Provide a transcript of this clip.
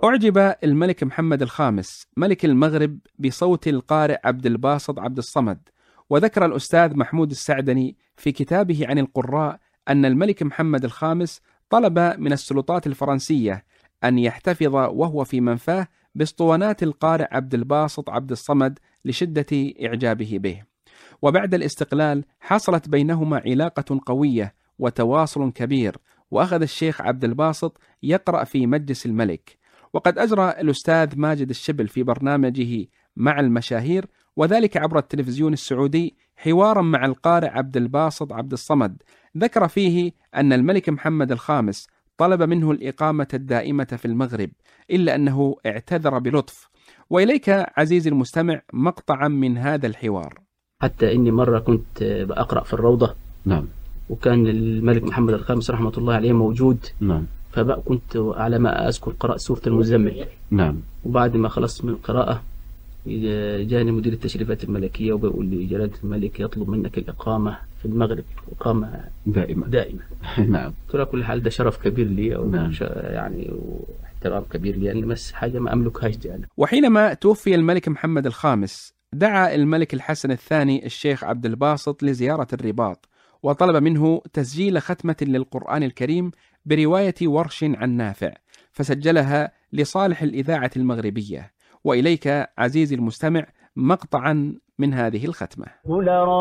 أعجب الملك محمد الخامس ملك المغرب بصوت القارئ عبد الباسط عبد الصمد، وذكر الأستاذ محمود السعدني في كتابه عن القراء أن الملك محمد الخامس طلب من السلطات الفرنسية أن يحتفظ وهو في منفاه باسطوانات القارئ عبد الباسط عبد الصمد لشدة إعجابه به. وبعد الاستقلال حصلت بينهما علاقة قوية وتواصل كبير، وأخذ الشيخ عبد الباسط يقرأ في مجلس الملك. وقد أجرى الأستاذ ماجد الشبل في برنامجه مع المشاهير وذلك عبر التلفزيون السعودي حوارا مع القارئ عبد الباسط عبد الصمد، ذكر فيه أن الملك محمد الخامس طلب منه الإقامة الدائمة في المغرب، إلا أنه اعتذر بلطف. وإليك عزيزي المستمع مقطعا من هذا الحوار. حتى إني مرة كنت بأقرأ في الروضة، نعم، وكان الملك محمد الخامس رحمة الله عليه موجود، نعم، فبقى كنت على ما أذكر قرأت سورة المزمل، نعم، وبعد ما خلصت من القراءة جاني مدير التشريفات الملكية وبيقول لي جلالة الملك يطلب منك الإقامة في المغرب، إقامة دائمة. نعم. قلت له كل حال ده شرف كبير لي، نعم. يعني واحترام كبير لي، أن بس حاجة ما أملكهاش دي أنا. وحينما توفي الملك محمد الخامس دعا الملك الحسن الثاني الشيخ عبد الباسط لزيارة الرباط، وطلب منه تسجيل ختمة للقرآن الكريم برواية ورش عن نافع، فسجلها لصالح الإذاعة المغربية. وإليك عزيزي المستمع مقطعا من هذه الختمة.